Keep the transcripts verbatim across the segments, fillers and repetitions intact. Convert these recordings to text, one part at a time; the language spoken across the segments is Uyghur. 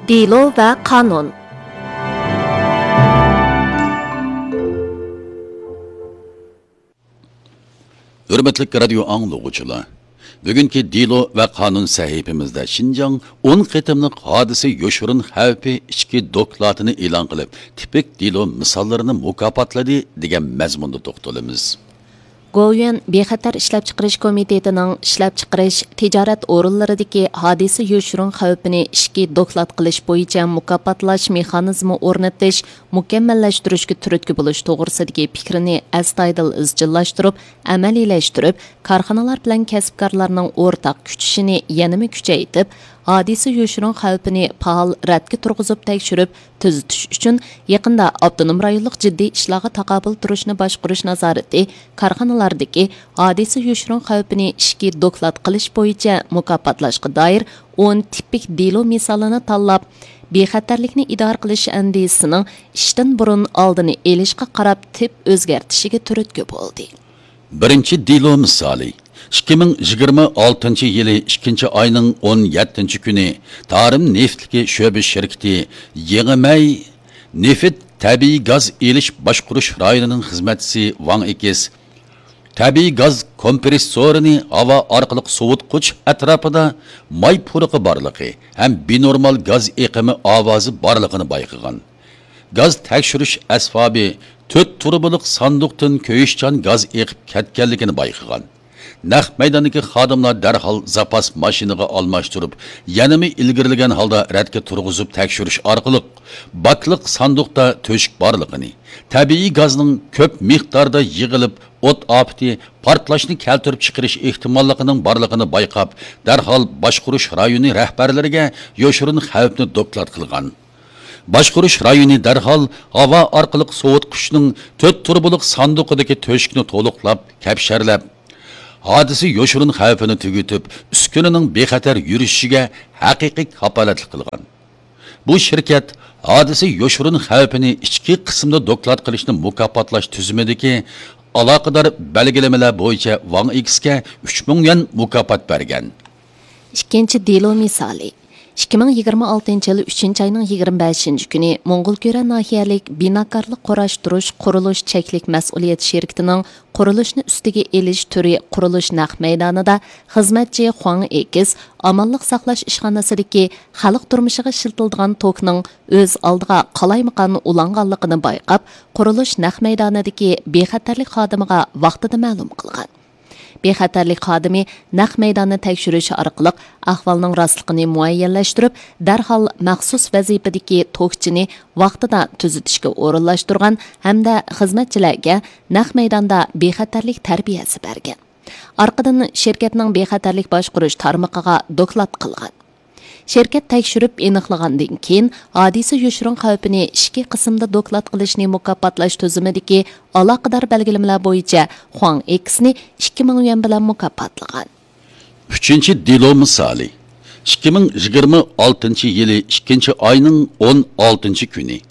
دېلو ۋە قانۇن. ھۆرمەتلىك رادىيو ئاڭلىغۇچىلار، بۈگۈنكى دېلو ۋە قانۇن سەھىپىمىزدە شىنجاڭ ئون قېتىملىق ھادىسە يوشۇرۇن خەۋپى ئىچكى دوكلاتىنى ئېلان قىلىپ، تىپىك دېلو مىساللىرىنى مۇكاپاتلىدى دېگەن مەزمۇندا توختىلىمىز. گوۋۇيۈەن بىخەتەر ئىشلەپچىقىرىش كومىتېتىنىڭ ئىشلەپچىقىرىش، تىجارەت ئورۇنلىرىدىكى ھادىسە يوشۇرۇن خەۋپىنى ئىچكى دوكلات قىلىش بويىچە مۇكاپاتلاش مېخانىزمى ئورنىتىش، مۇكەممەللەشتۈرۈشكە تۈرتكە بولۇش توغرىسىدىكى پىكرىنى ئەستايىدىل ئىزچىللاشتۇرۇپ، ئەمەلىيلەشتۈرۈپ، كارخانىلار بىلەن كەسىپكارلارنىڭ ئورتاق كۈچىشىنى يەنىمۇ كۈچەيتىپ، ھادىسە يوشۇرۇن خەۋپىنى پائال رەتكە تۇرغۇزۇپ تەكشۈرۈپ، تۈزىتىش ئۈچۈن يېقىندا ئاپتونوم رايونلۇق جىددىي ئىشلارغا تاقابىل تۇرۇشنى باشقۇرۇش نازارىتى كارخانىلاردىكى ھادىسە يوشۇرۇن خەۋپىنى ئىچكى دوكلات قىلىش بويىچە مۇكاپاتلاشقا دائىر ئون تىپىك دېلو مىسالىنى تاللاپ، بىخەتەرلىكنى ئىدارە قىلىش ئەندىزىسىنىڭ ئىشتىن بۇرۇن ئالدىنى ئېلىشقا قاراپ تىپ ئۆزگەرتىشىگە تۈرتكە بولدى. بىرىنچى دېلو مىسالى. ئىككى مىڭ يىگىرمە ئالتىنچى يىلى ئىككىنچى ئاينىڭ ئون يەتتىنچى كۈنى تارىم نېفىتلىكى شۆبە شىركىتى يېڭىمەي نېفىت تەبىئىي گاز ئېلىش باشقۇرۇش رايونىنىڭ خىزمەتچىسى ۋاڭ ئېكىس تەبىئىي گاز كومپرېسسورىنى ھاۋا ئارقىلىق سوۋۇتقۇچ ئەتراپىدا ماي پۇرىقى بارلىقى ھەم بىنورمال گاز ئېقىمى ئاۋازى بارلىقىنى بايقىغان. گاز تەكشۈرۈش ئەسۋابى تۆت تۇرۇبىلىق ساندۇقتىن كۆيۈشچان گاز ئېقىپ كەتكەنلىكىنى بايقىغان. نەق مەيداندىكى خادىملار دەرھال زاپاس ماشىنىغا ئالماشتۇرۇپ، يەنىمۇ ئىلگىرىلىگەن ھالدا رەتكە تۇرغۇزۇپ تەكشۈرۈش ئارقىلىق، باكلىق ساندۇقتا تۆشۈك بارلىقىنى، تەبىئىي گازنىڭ كۆپ مىقداردا يىغىلىپ، ئوت ئاپىتى، پارتلاشنى كەلتۈرۈپ چىقىرىش ئېھتىماللىقىنىڭ بارلىقىنى بايقاپ، دەرھال باشقۇرۇش رايونى رەھبەرلىرىگە يوشۇرۇن خەۋپنى دوكلات قىلغان. باشقۇرۇش رايونى دەرھال ھاۋا ئارقىلىق سوۋۇتقۇچنىڭ تۆت تۇرۇبىلىق ساندۇقىدىكى تۆشۈكنى تولۇقلاپ، كەپشەرلەپ، ھادىسە يوشۇرۇن خەۋپىنى تۈگىتىپ، ئۈسكۈنىنىڭ بىخەتەر يۈرۈشۈشىگە ھەقىقىي كاپالەتلىك قىلغان. بۇ شىركەت ھادىسە يوشۇرۇن خەۋپىنى ئىچكى قىسىمدا دوكلات قىلىشنى مۇكاپاتلاش تۈزۈمىدىكى ئالاقىدار بەلگىلىمىلەر بويىچە ۋاڭ ئېكىسكە ئۈچ مىڭ يۈەن مۇكاپات بەرگەن. ئىككىنچى دېلو مىسالى. ئىككى مىڭ يىگىرمە ئالتىنچى يىل ئۈچىنچى ئاينىڭ يىگىرمە بەشىنچى كۈنى موڭغۇلكۈرە ناھىيەلىك بىناكارلىق قۇراشتۇرۇش قۇرۇلۇش چەكلىك مەسئۇلىيەت شىركىتىنىڭ قۇرۇلۇشنى ئۈستىگە ئېلىش تۈرى قۇرۇلۇش نەق مەيدانىدا خىزمەتچى خۇاڭ ئېكىس ئامانلىق ساقلاش ئىشخانىسىدىكى خەلق تۇرمۇشىغا ئىشلىتىلىدىغان توكنىڭ ئۆز ئالدىغا قالايمىقان ئۇلانغانلىقىنى بايقاپ، قۇرۇلۇش نەق مەيدانىدىكى بىخەتەرلىك خادىمىغا ۋاقتىدا مەلۇم قىلغان. بىخەتەرلىك خادىمى نەق مەيداننى تەكشۈرۈش ئارقىلىق ئەھۋالنىڭ راستلىقىنى مۇئەييەنلەشتۈرۈپ، دەرھال مەخسۇس ۋەزىپىدىكى توكچىنى ۋاقتىدا تۈزىتىشكە ئورۇنلاشتۇرغان ھەمدە خىزمەتچىلەرگە نەق مەيداندا بىخەتەرلىك تەربىيەسى بەرگەن. ئارقىدىن شىركەتنىڭ بىخەتەرلىك باشقۇرۇش تارمىقىغا دوكلات قىلغان. شىركەت تەكشۈرۈپ ئېنىقلىغاندىن كېيىن، ھادىسە يوشۇرۇن خەۋپىنى ئىچكى قىسىمدا دوكلات قىلىشنى مۇكاپاتلاش تۈزۈمىدىكى ئالاقىدار بەلگىلىمىلەر بويىچە خۇاڭ ئېكسنى ئىككى مىڭ يۈەن بىلەن مۇكاپاتلىغان. ئۈچىنچى دېلو مىسالى. ئىككى مىڭ يىگىرمە ئالتىنچى يىلى ئىككىنچى ئاينىڭ ئون ئالتىنچى كۈنى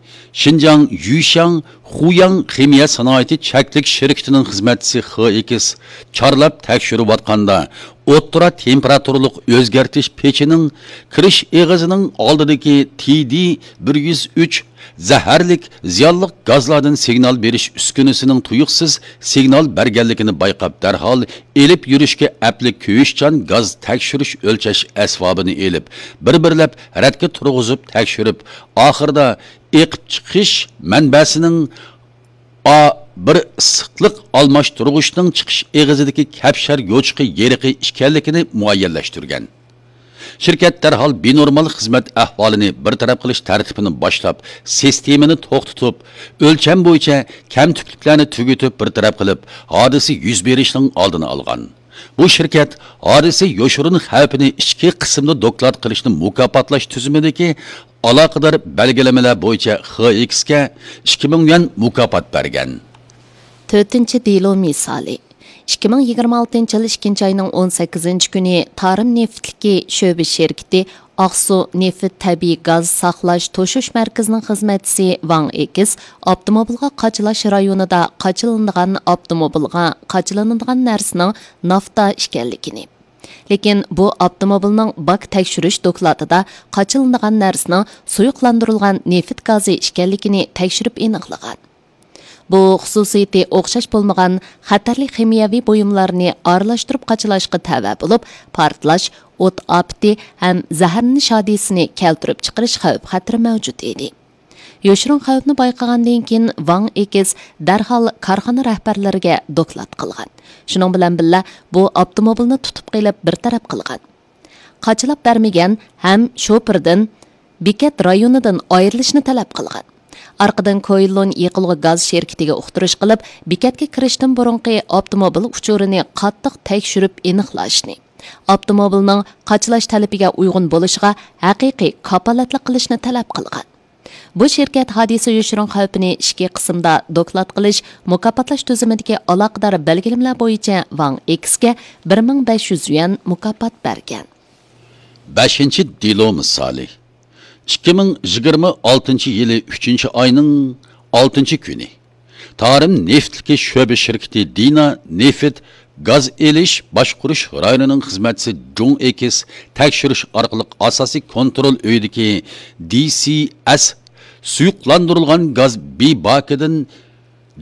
شىنجاڭ يۈشياڭ خۇياڭ خىمىيە سانائىتى چەكلىك شىركىتىنىڭ خىزمەتچىسى خې ئېكس چارلاپ تەكشۈرۈۋاتقاندا، ئوتتۇرا تېمپېراتۇرىلىق ئۆزگەرتىش پېچىنىڭ كىرىش ئېغىزىنىڭ ئالدىدىكى تى دى بىر يۈز ئۈچ زەھەرلىك زىيانلىق گازلاردىن سىگنال بېرىش ئۈسكۈنىسىنىڭ تۇيۇقسىز سىگنال بەرگەنلىكىنى بايقاپ، دەرھال ئېلىپ يۈرۈشكە ئەپلىك كۆيۈشچان گاز تەكشۈرۈش ئۆلچەش ئەسۋابىنى ئېلىپ، بىر-بىرلەپ رەتكە تۇرغۇزۇپ تەكشۈرۈپ، ئاخىرىدا ئېقىپ چىقىش مەنبەسىنىڭ ئا بىر ئىسسىقلىق ئالماشتۇرغۇچنىڭ چىقىش ئېغىزىدىكى كەپشەر يوچۇقى يېرىقى ئىكەنلىكىنى مۇئەييەنلەشتۈرگەن. شىركەت دەرھال بىنورمال خىزمەت ئەھۋالىنى بىر تەرەپ قىلىش تەرتىپىنى باشلاپ، سىستېمىنى توختىتىپ، ئۆلچەم بويىچە كەمتۈكلۈكلەرنى تۈگىتىپ بىر تەرەپ قىلىپ، ھادىسە يۈز بېرىشنىڭ ئالدىنى ئالغان. بۇ شىركەت ھادىسە يوشۇرۇن خەۋپىنى ئىچكى قىسىمدا دوكلات قىلىشنى مۇكاپاتلاش تۈزۈمىدىكى ئالاقىدار بەلگىلىمىلەر بويىچە خې ئېكسكە ئىككى مىڭ يۈەن مۇكاپات بەرگەن. تۆتىنچى دېلو مىسالى. ئىككى مىڭ يىگىرمە ئالتىنچى يىل ئىككىنچى ئاينىڭ ئون سەككىزىنچى كۈنى تارىم نېفىتلىكى شۆبە شىركىتى ئاقسۇ نېفىت تەبىئىي گاز ساقلاش توشۇش مەركىزىنىڭ خىزمەتچىسى ۋاڭ ئېكىس ئاپتوموبىلغا قاچىلاش رايونىدا قاچىلىنىدىغان ئاپتوموبىلغا قاچىلىنىدىغان نەرسىنىڭ نافتا ئىكەنلىكىنى، لېكىن بۇ ئاپتوموبىلنىڭ باك تەكشۈرۈش دوكلاتىدا قاچىلىنىدىغان نەرسىنىڭ سۇيۇقلاندۇرۇلغان نېفىت گازى ئىكەنلىكىنى تەكشۈرۈپ ئېنىقلىغان. بۇ خۇسۇسىيىتى ئوخشاش بولمىغان خەتەرلىك خىمىيەۋى بۇيۇملارنى ئارىلاشتۇرۇپ قاچىلاشقا تەۋە بولۇپ، پارتلاش، ئوت ئاپىتى ھەم زەھەرلىنىش ھادىسىسىنى كەلتۈرۈپ چىقىرىش خەۋپ خەتىرى مەۋجۇت ئىدى. يوشۇرۇن خەۋپنى بايقىغاندىن كېيىن، ۋاڭ ئېكس دەرھال كارخانا رەھبەرلىرىگە دوكلات قىلغان. شۇنىڭ بىلەن بىللە، بۇ ئاپتوموبىلنى تۇتۇپ قېلىپ بىر تەرەپ قىلغان. قاچىلاپ بەرمىگەن ھەم شوپۇردىن بېكەت رايونىدىن ئايرىلىشنى تەلەپ قىلغان. ئارقىدىن كويلۇن يېقىلغۇ گاز شىركىتىگە ئۇقتۇرۇش قىلىپ، بېكەتكە كىرىشتىن بۇرۇنقى ئاپتوموبىل ئۇچۇرىنى قاتتىق تەكشۈرۈپ ئېنىقلاشنى، ئاپتوموبىلنىڭ قاچىلاش تەلىپىگە ئۇيغۇن بولۇشىغا ھەقىقىي كاپالەتلىك قىلىشنى تەلەپ قىلغان. بۇ شىركەت ھادىسە يوشۇرۇن خەۋپىنى ئىككى قىسىمدا دوكلات قىلىش، مۇكاپاتلاش تۈزۈمىدىكى ئالاقىدار بەلگىلىمىلەر بويىچە ۋاڭ ئېكسكە بىر مىڭ بەش يۈز يۈەن مۇكاپات بەرگەن. بەشىنچى دېلو مىسالى. ئىككى مىڭ يىگىرمە ئالتىنچى يىلى ئۈچىنچى ئاينىڭ ئالتىنچى كۈنى. تارىم نېفىتلىكى شۆبە شىركىتى دىنا نېفىت گاز ئېلىش باشقۇرۇش رايونىنىڭ خىزمەتچىسى جۇڭ ئېكىس تەكشۈرۈش ئارقىلىق ئاساسىي كونترول ئۆيىدىكى دى سى ئەس سۇيۇقلاندۇرۇلغان گاز بى باكىدىن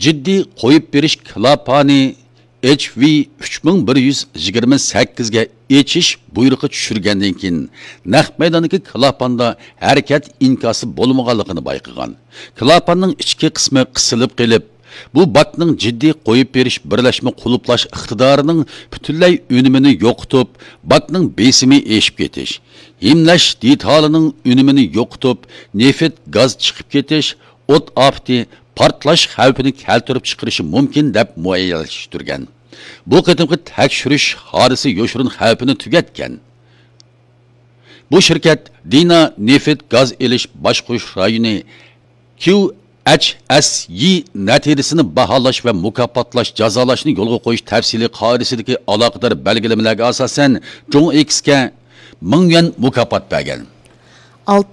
جىددىي قويۇپ بېرىش كلاپانى ئېچ ۋى ئۈچ مىڭ بىر يۈز يىگىرمە سەككىزگە ئېچىش بۇيرۇقى چۈشۈرگەندىن كېيىن، نەق مەيداندىكى كلاپاندا ھەرىكەت ئىنكاسى بولمىغانلىقىنى بايقىغان. كلاپاننىڭ ئىچكى قىسمى قىسىلىپ قېلىپ، بۇ باكنىڭ جىددىي قويۇپ بېرىش بىرلەشمە قۇلۇپلاش ئىقتىدارىنىڭ پۈتۈنلەي ئۈنۈمىنى يوقىتىپ، باكنىڭ بېسىمى ئېشىپ كېتىش، ھىملەش دېتالىنىڭ ئۈنۈمىنى يوقىتىپ، نېفىت گاز چىقىپ كېتىش، ئوت ئاپىتى، پارتلاش خەۋپىنى كەلتۈرۈپ چىقىرىشى مۇمكىن، دەپ مۇئەييەنلەشتۈرگەن. بۇ قېتىمقى تەكشۈرۈش ھادىسە يوشۇرۇن خەۋپىنى تۈگەتكەن. بۇ شىركەت دىنا نېفىت گاز ئېلىش باشقۇرۇش رايونى كيۇ ئەچ ئەس يى نەتىجىسىنى باھالاش ۋە مۇكاپاتلاش، جازالاشنى يولغا قويۇش تەپسىلىي قائىدىسىدىكى ئالاقىدار بەلگىلىمىلەرگە ئاساسەن، جۇڭ ئېكسكە مىڭ يۈەن مۇكاپات بەرگەن. ئالتىنچى